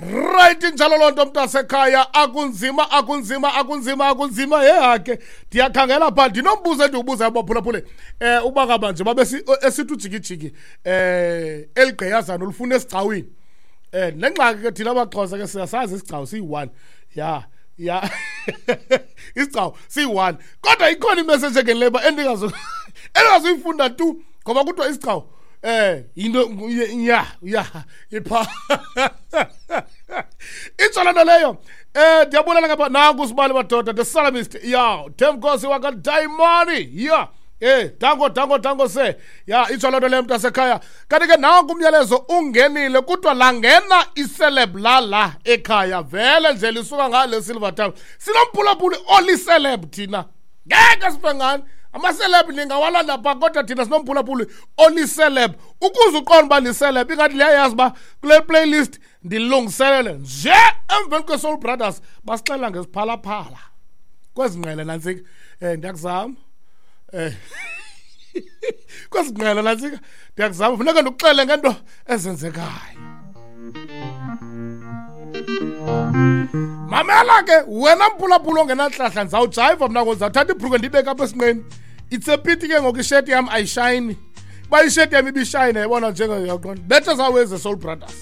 Right, injalo loo nto, mntasekhaya. Akunzima, akunzima, akunzima, akunzima. Yehake, ndiyakhangela phaa, ndinombuzo endiwubuzayo, baphulaphule, uba ngaba nje babe esithi ujikijiki eligqiyazana ulifuna esigcawini. Nengxaki ke thina abaXhosa ke siyasazi isigcawu siyi-one. Ya, isigcawu siyi-one, kodwa ikhona imessage engenileyo uba endingazuyifunda tu, ngoba kuthiwa isigcawu yinto ya ipha itsho loo nto leyo. Ndiyabulela ngapha, nanku sibali madoda, the Salamist ya Themkosi wakadayimani ya. Danko, danko, danko se ya, itsho loo nto leyo, mntasekhaya. Kanti ke nanku umyalezo ungenile, kuthiwa langena iceleb lala ekhaya vele nje lisuka ngale Silver Town. Sinomphulaphuli oliceleb, thina ngeke sife ngani amaceleb, ningawalanda phaa, kodwa thina sinomphulaphuli oliceleb. Ukuze uqonde uba liceleb, ingathi liyayazi uba kule playlist ndilungiselele nje emveni kwe-Soul Brothers basixelela ngeziphalaphala kwezi ngqele nantsika. Ndiyakuzama kwezi ngqele nantsika, ndiyakuzama, funeka ndikuxele ngento ezenzekayo. Mamela ke wena mphulaphula ongenantlahla, ndizawujayiva mna ngoku, ndizawuthatha ibhruke ndiyibeke apha esinqeni. It's a pity ke ngoku isheti yam ayishayini. Uba isheti yam ibishayina, yabona, njengeyaqonda bethe zaweze Soul Brothers.